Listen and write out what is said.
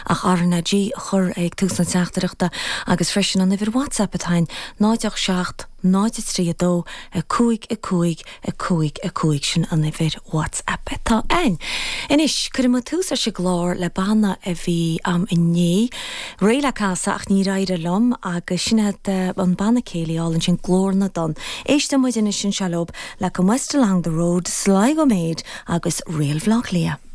Ach RnaG a chur ag tús na teachtaireachta agus freisin an uimhir WhatsApp atá ann, 0 8 7 0 3 2 5 5 5 5, sin an uimhir WhatsApp atá ann. Anois, cuirfidh muid tús leis an gclár le banna a bhí a'm inné, réidh le casadh ach níor éirigh liom agus sin iad an banna céilí álainn sin Glór na dTonn. Éisteann muid anois anseo leob le Come West Along the Road, Sligo Maid agus Réal Bhaile Átha Cliath.